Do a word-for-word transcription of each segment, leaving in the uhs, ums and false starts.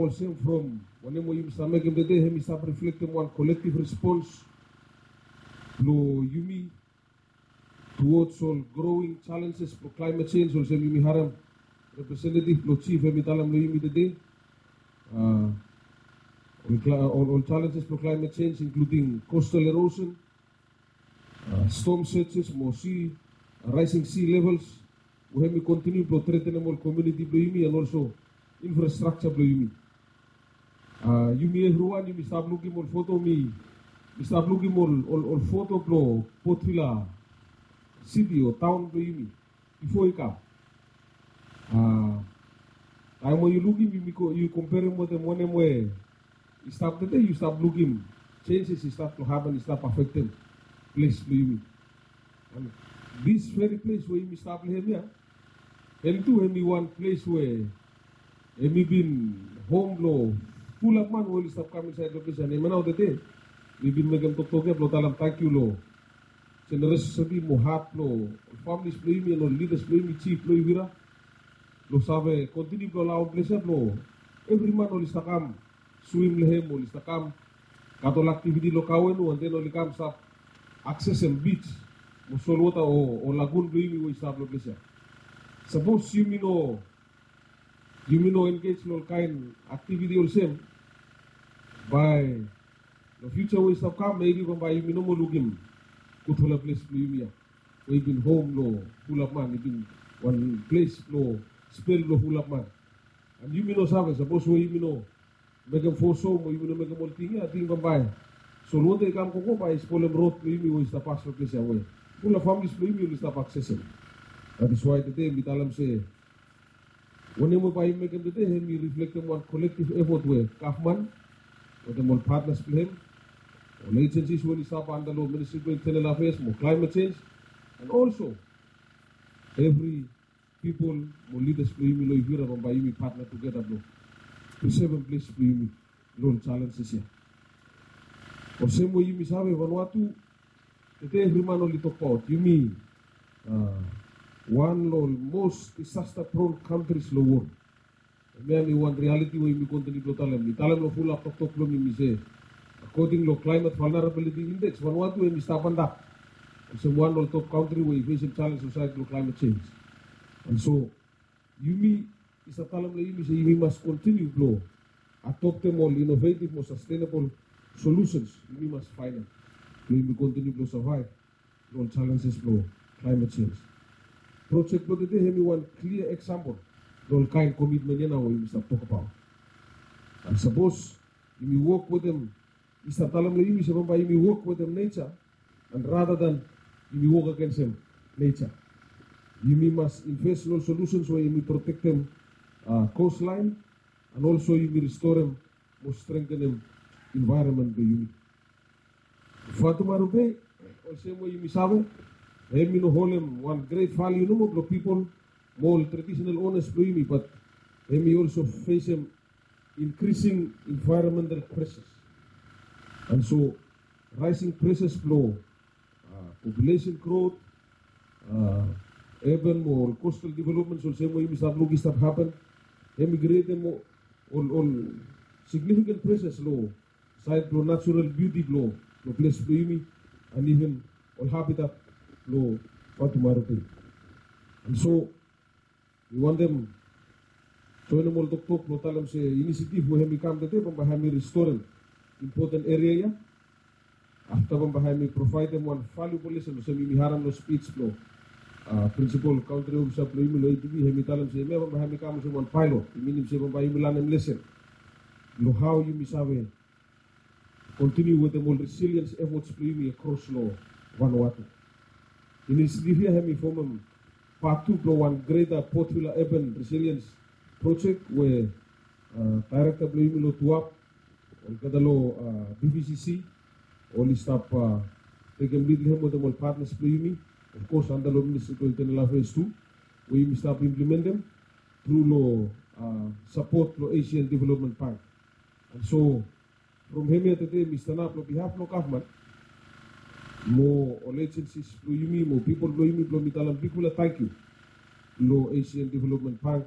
Olsem from wanem we yumi stap mekem tede, hemi stap reflektem wan collective response blo yumi towards ol growing challenges blo climate change, olsem yumi harem representative blo chief hemi talem lo yumi tede. Uh, ol, ol, ol challenges blo climate change, including coastal erosion, uh, storm surges mo sea, uh, rising sea levels, we hemi continue blo threatenem ol community blo yumi and also infrastructure blo yumi. Uh, yumi evriwan yumi stap lukim ol foto, mi, mi stap lukim ol, ol, ol foto blo Port Vila city o taon blo yumi bifo i kam. Uh, taem we yu lukim, yu, yu komperem wetem wanem we i stap tede, yu stap lukim changes i stap blo hapen, i stap afektem ples blo yumi. And this very place we yumi stap lo hem ia, hem tu hemi wan ples we hemi bin home blo fulap man we oli stap kam insaed lo ples ia. And hemia nao tede mi bin mekem toktok ia blo talem tangkiu lo generosity mo hat blo ol families blo yumi and ol leaders blo yumi, chief blo Ivira, blo save continue blo alaoem ples ia blo evri man oli stap kam swim lo hem, oli stap kam gat ol activity lo Kauenu, and then oli kam stap accessem beach mo solwota o, o lagoon blo yumi we i stap lo ples ia. Sapos yumi no, yumi no engage lo ol kaen activity olsem, bae lo future we i stap kam, maybe bambae yumi no moa lukim gudfala ples blo yumi ia we i bin home lo fulap man, i bin wan ples blo spel blo fulap man. And yumi no save, sapos we yumi no mekem fo so mo yumi no mekem ol ting ia, ating bambae solwota i kam gogo bae i spolem rod blo yumi we i stap pas lo ples ia we fulap families blo yumi oli stap accessem. That is why tede mi talem se wanem we bae yumi mekem tede, hemi reflektem wan collective effort we gavman wetem ol partners blo hem, ol agencies we oli stap anda lo Ministry blo Internal Affairs mo Climate Change, and also evri people mo leaders blo yumi lo Ivira, bambae yumi partner together blo prisevem ples blo yumi lo ol challenges ia. Olsem we yumi save, Vanuatu tede, evri man oli tokbaot yumi, uh, wan lo ol most disaster prone countries lo wol. Hemia hemi wan reality we yumi continue blo talem. Mi talem lo fulap toktok blo mi, mi se, according lo Climate Vulnerability Index, Vanuatu hemi stap antap olsem wan lo ol top country we i fesem challenge lo saed blo climate change. And so yumi i stap talem lo yumi se yumi mas continue blo adoptem ol innovative mo sustainable solutions yumi mas faenem blo yumi continue blo survive lo ol challenges blo climate change. Project blo tede hemi wan clear example lo ol kaen commitment ia nao we yumi stap tokbaot. And sapos yumi wok wetem, mi stap talem lo yumi se bambae yumi wok wetem nature, and rather than yumi wok agensem nature, yumi mas invest lo ol solutions we yumi protektem, uh, coastline, and also yumi restorem mo strengthenem environment blo yumi. Vatumaru Bay, olsem we yumi save, hemi no holem wan great value nomo blo people mo ol traditional owners blo yumi, but hemi also fesem increasing environmental pressures. And so rising pressures blo, uh, population growth, uh, urban mo ol coastal developments olsem we yumi stap luk i stap hapen, hemi createm ol, ol significant pressures lo saed blo natural beauty blo, blo ples blo yumi, and even ol habitat blo Vatumaru Bay. And so mi wantem joenem ol toktok blo talem se initiative we hemi kam tede bambae hemi restorem important area ia. Afta bambae hemi provaedem wan valuable lesson, olsem yumi harem lo speech blo, uh, principal country officer blo yumi lo A D B, hemi talem se hemia bambae hemi kam olsem wan pilot. I minim se bambae yumi lanem lesen lo hao yumi save continue wetem ol resilience efforts blo yumi across lo Vanuatu. Initiative ia hemi fomem part tu blo wan greater Port Vila Urban Resilience Project we, uh, director blo yumi lo TUAP olgeta lo, uh, B V C C oli stap, uh, tekem lead lo hem wetem ol partners blo yumi, of course anda lo Ministry blo Internal Affairs tu, we yumi stap implementem tru lo, uh, support blo Asian Development Bank. And so from hemia tede mi stanap lo behalf blo gavman mo ol agencies blo yumi mo people blo yumi blo mi talem bigfala tangkiu lo Asian Development Bank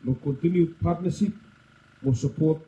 lo continued partnership mo sapot